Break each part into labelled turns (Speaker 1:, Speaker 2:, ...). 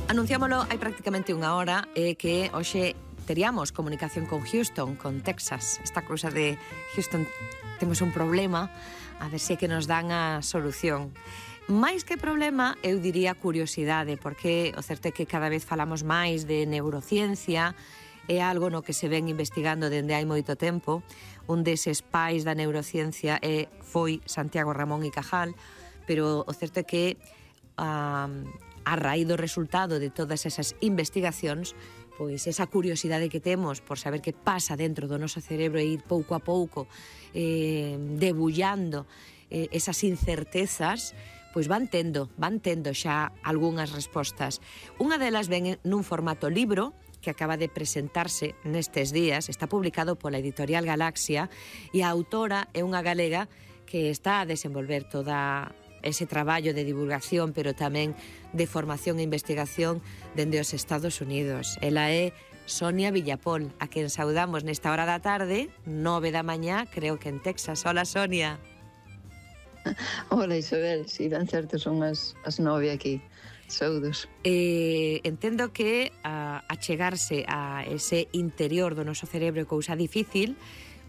Speaker 1: Anunciámolo hai prácticamente unha hora que hoxe teríamos comunicación con Houston, con Texas. Esta cousa de Houston, temos un problema, a ver se que nos dan a solución. Mais que problema, eu diría curiosidade, porque o certo é que cada vez falamos máis de neurociencia, é algo no que se ven investigando dende hai moito tempo. Un deses pais da neurociencia foi Santiago Ramón y Cajal, pero o certo é que a raíz do resultado de todas esas investigacións, pois esa curiosidade que temos por saber que pasa dentro do noso cerebro e ir pouco a pouco debullando esas incertezas, pois van tendo xa algunhas respostas. Unha delas ven nun formato libro que acaba de presentarse nestes días, está publicado pola editorial Galaxia e a autora é unha galega que está a desenvolver toda ese traballo de divulgación, pero tamén de formación e investigación dende os Estados Unidos. Ela é Sonia Villapol, a quen saudamos nesta hora da tarde, 9 da mañá, creo que en Texas. Hola, Sonia.
Speaker 2: Hola, Isabel, si ben certo son as 9 aquí. Saudos.
Speaker 1: Entendo que achegarse a ese interior do noso cerebro é cousa difícil,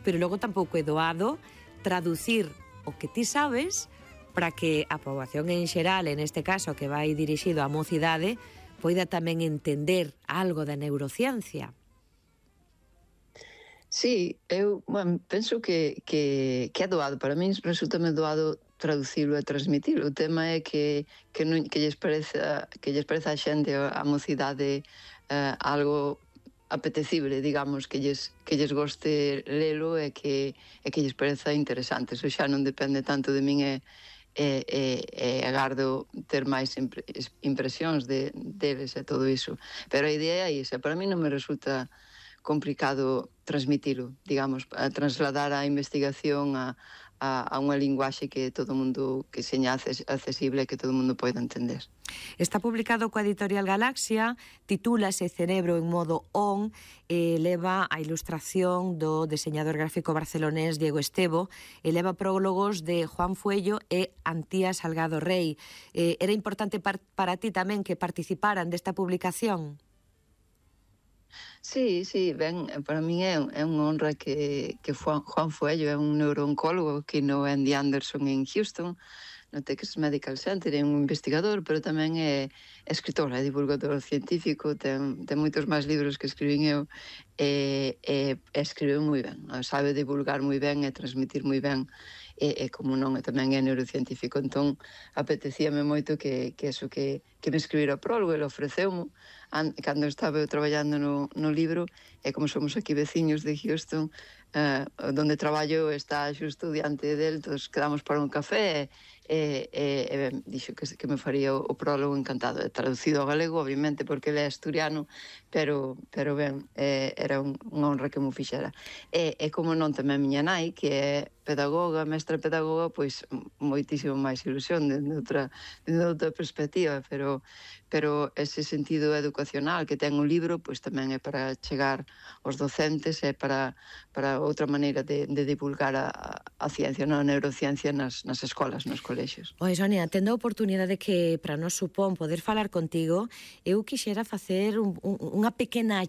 Speaker 1: pero logo tampouco é doado traducir o que ti sabes para que a poboación en xeral, en este caso que vai dirixido á mocidade, poida tamén entender algo da neurociencia.
Speaker 2: Sí, eu penso que é doado. Para min resulta-me doado traducilo e transmitilo. O tema é que lles pareza a xente, a mocidade, algo apetecible, digamos, que lles goste lelo e que lles pareza interesante. Eso xa non depende tanto de min e agardo ter máis impresións deles e todo iso. Pero a idea é esa. Para mí non me resulta complicado transmitilo, digamos, a trasladar a investigación a unha linguaxe que todo mundo, que seña accesible e que todo mundo poida entender.
Speaker 1: Está publicado coa editorial Galaxia, titúlase Cerebro en modo on, e leva a ilustración do deseñador gráfico barcelonés Diego Estevo, e leva prólogos de Juan Fuello e Antía Salgado Rey. Era importante para ti tamén que participaran desta publicación?
Speaker 2: Sí, ben, para min é unha honra que Juan Fuello é un neurooncólogo que no Andy Anderson en Houston, no Texas Medical Center, é un investigador, pero tamén é escritor, é divulgador científico, ten moitos máis libros que escribín eu, e escribe moi ben, sabe divulgar moi ben e transmitir moi ben, e como non, tamén é neurocientífico. Entón, apetecíame moito que me escribira o prólogo, ele ofreceu-mo, cando estaba eu traballando no libro, e como somos aquí veciños de Houston, donde traballo está xusto diante del, todos quedamos para un café, e dixo que me faría o prólogo encantado. Traducido ao galego, obviamente, porque ele é asturiano, pero ben, era unha honra que mo fixera. E como non, tamén miña nai, que é pedagoga, mestra pedagoga, pois moitísimo máis ilusión dende outra perspectiva, pero ese sentido educacional que ten o libro, pois tamén é para chegar aos docentes e para outra maneira de divulgar a ciencia, a neurociencia nas escolas, nos colexios.
Speaker 1: Oi, Sonia, tendo a oportunidade que para nós supón poder falar contigo, eu quixera facer unha pequena